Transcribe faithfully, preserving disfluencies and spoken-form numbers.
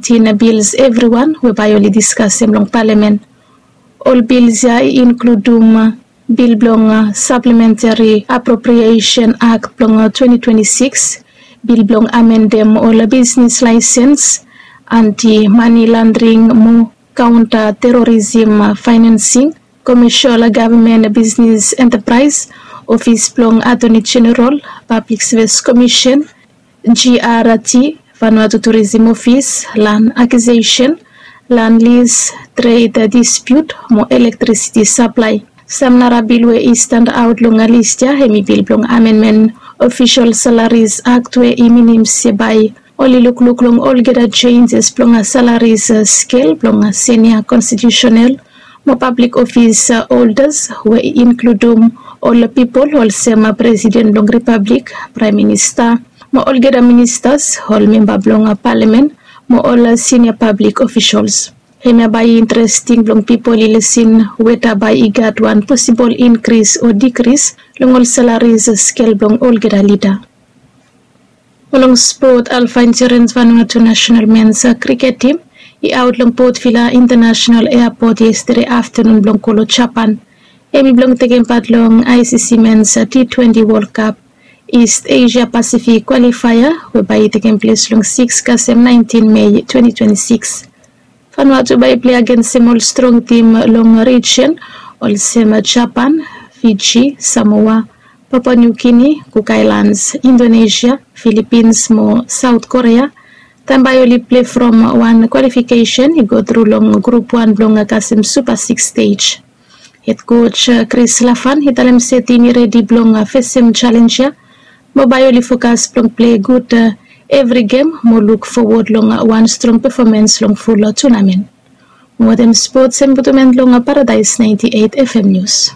Tin bils evriwan we bae oli diskasem long palamen. Ol bils ya i inkludum bil blong saplementari apropriesen akt blong twenti twenti sikis, bil blong amendem ol bisnis laesens, anti mani landring mo kaonta terorism faenensing, komesol gavman bisnis entapraes, ofis blong atoni jeneral, pablik sevis komisen, g r t, vanua tu turism ofis, lan akisesen, lan lis, tred dispiut mo elektrisiti saplae. Sam nara bil we i standa aot long lis ya hem i bil blong amenmen ofisol salaris akt we i minim se bae oli lukluk long olgeta jenjes blong salaris skel blong senia konstitiusenal mo pablik ofis holdas we i inkludum ol pipol olsem presiden blong ripablik, praem minista, mo olgeta ministas, ol memba blong palamen mo ol sinia pablik ofisols. Hemia bae i interesting blong pipol i lesin weta bae i gat wan posibol inkris o dikris long ol salaris skel blong olgeta lida. Mo long spot, alfa insurens vanua tu nasenal mens kriket tim i aot long potvila intanasenal eapot yestede aftanun blong kolo japan. Hem i blong tekem pat long i c c mens t twenti wol kap ist asia pasifik kwalifaea we bae i tekem ples long siks kasem naentin mei twenti twenti sikis. Vanua tu bae i plei agensem ol strong tim long rijen olsem japan, fiji, samoa, papua niu gini, kuk aelans, indonesia, filipins mo saot korea, taem bae oli plei from wan kwalifikesen i go tru long grup wan blong kasem supa siks stej. Hed koj kris lafan i talem se tim i redi blong fesem jalenj ya mo bae oli fokas blong plei gud evri gem mo luk fowod long wan strong pefomens long ful tunamen. Mo wetem spots hem butumen long paradaes naenti eit fm nius.